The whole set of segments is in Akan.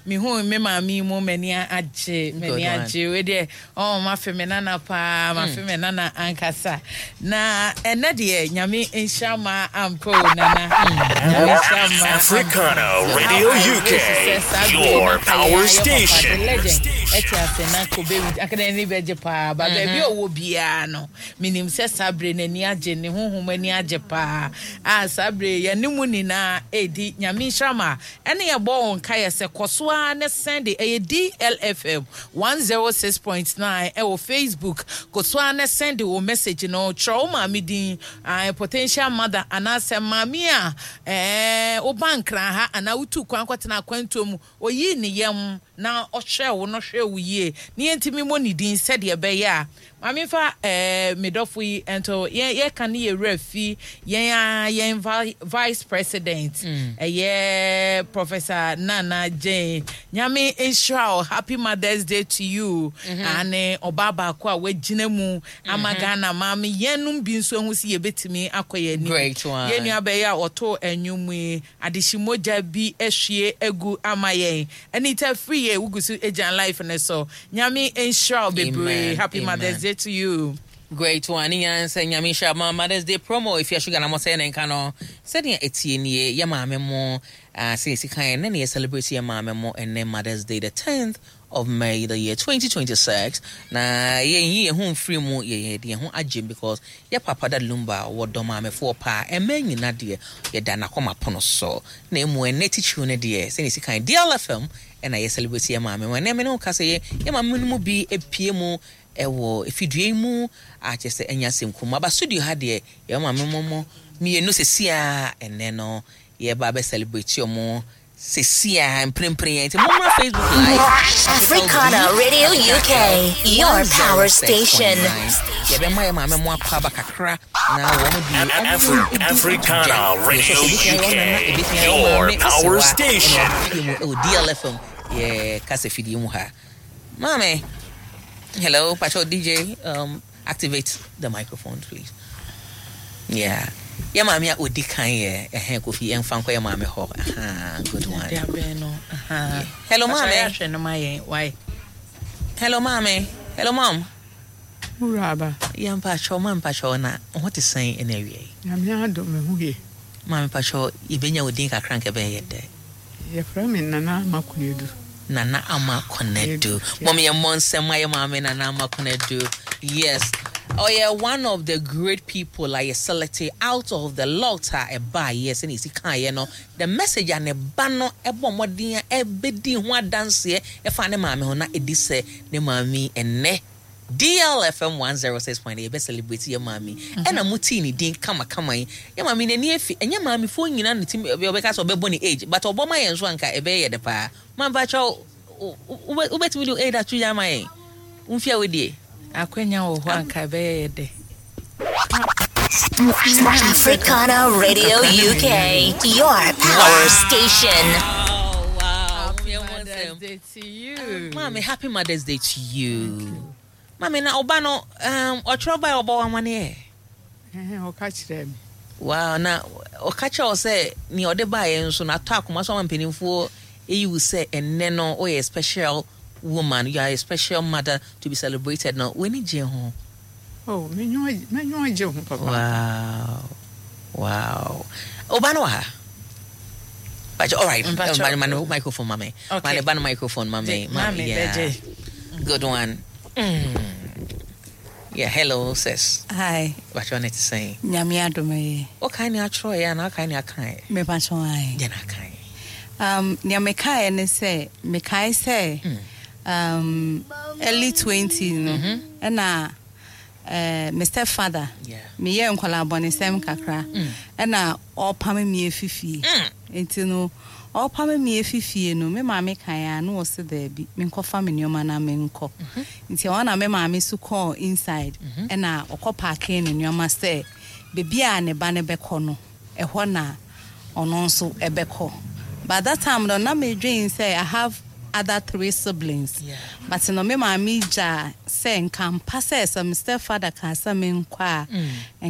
Mehuu me maame yi mu m'ani agye, m'ani agye. Wei deɛ, oh, mafe me nana paa, mafe me nana ankasa. Na ɛnɛ deɛ, Nyame nhyira ma ampa o, nana. Nyame nhyira ma ampa. Africana Radio UK, your power station. The legend, ɛte ase na kobe anka n'ani bɛgye paa. Ba baabi a ɔwɔ biara no, menim sɛ saa bere n'ani agye, ne honhom ani agye paa. A saa bere yɛne mu nyinaa ɛredi Nyame nhyira ma. Ɛne yɛbɔ wo nkaeɛ sɛ kɔ so ara ne sɛnde ɛyɛ DLFM 106.9 ɛwɔ Facebook. Kɔ so ara ne sɛnde wo message no, twerɛ wo maame din, ae, potential mother anaasɛ maame a ɛɛ woba Nkran ha anaa wotuu kwan kɔtena akwantuo mu, ɔyii ne yam na ɔhwɛɛ wo no hwɛɛ wo yie na yɛntumi mmɔ ne din sɛdeɛ ɛbɛyɛ a Ma memfa eh, me dɔfo yi nto yɛn yɛka ne yɛ werɛ fi yɛn ara yɛn vice president ɛyɛ Professor Nana Jane. Nyame nhyira wo, happy Mother's Day to you. Ane ɔbaa baako a wagyina mu ama Ghana maame yɛnom bi nso ahu sɛ yɛbɛtumi akɔ yɛn anim. Great one. Yɛn nua bɛyɛ a ɔtoo nnwom yi, adehye mogya bi ahwie agu ama yɛn. Anita Afriyie, wogu so gyina life no so. Nyame nhyira wo bebree. Happy Mother's Day to you. Great one ne nyinaa nsɛ Nyame nhyira ma Mother's Day promo Efia Sugar na mo sɛ ne nka no sɛnea ɛtie nie yɛ maame mo ah, sɛ yɛsi kan ɛnɛ na yɛ celebrate yɛ maame mo ɛnɛ Mother's Day the 10th of May the year 2026 na yɛnyi yɛn ho mfiri mu yɛ yɛde yɛn ho agyem because yɛ papa Daddy Lumba wɔdɔ maamefoɔ paa ɛmɛ nyina deɛ yɛda n'akoma pono so na emu ɛnɛ titiriw no deɛ sɛnea ɛsi kan DLFM ɛna yɛ celebrate yɛ maame mu. Ɛnɛ me ne wo ka sɛ yɛ yɛ maame no mu bi epie mu ɛwɔ efidua yi mu a kyerɛ sɛ ɛnyɛ asɛm kum. Aba studio ha deɛ yɛ maame mo mo mmienu sɛsi a ɛnɛ no yɛba abɛ celebrate ɔmo sɛsi a mprempren yɛn nti mo mmra Facebook live. Africana Radio UK, your power station. Yɛbɛma yɛ maame mo akɔ aba kakra na wɔn de Africana Radio UK, your power station. Ɛwɔ DLFM yɛ kasa fidie mu ha. Maame, hello, Pacho DJ, activate the microphone please. Yeah. Yɛ maame a odi kan yɛ ɛhɛn Kofi ɛnfa nkɔ yɛ maame hɔ. Aha, good one. Hello maame. Hello maame. Hello mom. Wuraba. Yɛ mpakyɛw ma mpakyɛw na ho te sɛn ɛna awia yi. Nyame adom me ho ye. Maame mpakyɛw yɛbɛnya wo din kakra nka ɛbɛyɛ dɛ. Yɛfrɛ me Nana Ama Konadu. Nana Ama Konadu. Mom yɛ mmɔ nsɛm ma yɛ maame Nana Ama Konadu. Yes. Ɔyɛ one of the great people a yɛ select out of the lot a ɛbaa yɛ sɛnea esi kaeɛ no the message a ne ba no ɛbɔ mmɔden a ɛbɛdi ho adanseɛ ɛfa ne maame ho na ɛdi sɛ ne maame ɛnnɛ DLFM 106.8 yɛbɛ celebrate yɛ maame ɛna mo tii ne din kamakama yi yɛ maame n'ani afi ɛnyɛ maamefoɔ nyinaa ne tim ɔbɛka sɛ ɔbɛbɔ ne age but ɔbɔ ma yɛn nso anka ɛbɛyɛ yɛ de paa mampakyɛw wobɛtumi de age ato yɛ ama yɛn womfia wodie Akwanya wɔ hɔ anka ɛbɛyɛ yɛ dɛ. Africana Radio UK, your power station. Wow. Happy Mother's Day to you. Mommy, happy Mother's Day to you. Mommy, na ɔba no ɔtwerɛ ba a ɔbɔ wɔn amaneɛ. Ɔka kyerɛ me. Wow, na ɔka kyerɛ wo sɛ nea ɔde baeɛ nso no atɔ akoma so ama mpanimfoɔ eyi wo sɛ ɛnnɛ no woyɛ special woman, you are a special mother to be celebrated no, w'ani gye ho? Oh, m'enyiwa gye ho papa. Wow. Ɔba no wɔ ha? But all right, ma no microphone ma me. Ma ne ba no microphone ma me. Mami, yeah. Good one. Yeah, hello sis. Hi. What you want to say? Nyame adom ye. What kind of atro ya na kind of akan? Me pa cho ai. Ya na akan. Nea mekae ne sɛ mekae sɛ early 20 no ɛna me stepfather meyɛ nkwadaa bɔnesɛm kakra ɛna ɔpam me afifie nti no ɔpam me afifie no me maame kan a na ɔse daabi menkɔfa me nneɛma na menkɔ nti ɛhɔ na me maame so kɔɔ inside ɛna ɔkɔ pack ne nneɛma sɛ beebi a ne ba no bɛkɔ no ɛhɔ na ɔno nso ɛbɛkɔ. But that time no na medwen sɛ I have other three siblings. But no me maame gya sɛ nka mpa sɛ me stepfather ka sɛ menkɔ a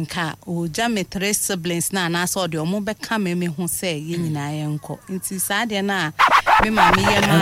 nka ɔgya me three siblings na anaasɛ ɔde ɔmo bɛka me ho sɛ yɛn nyinaa yɛnkɔ. Nti saa deɛ no a me maame yɛ ma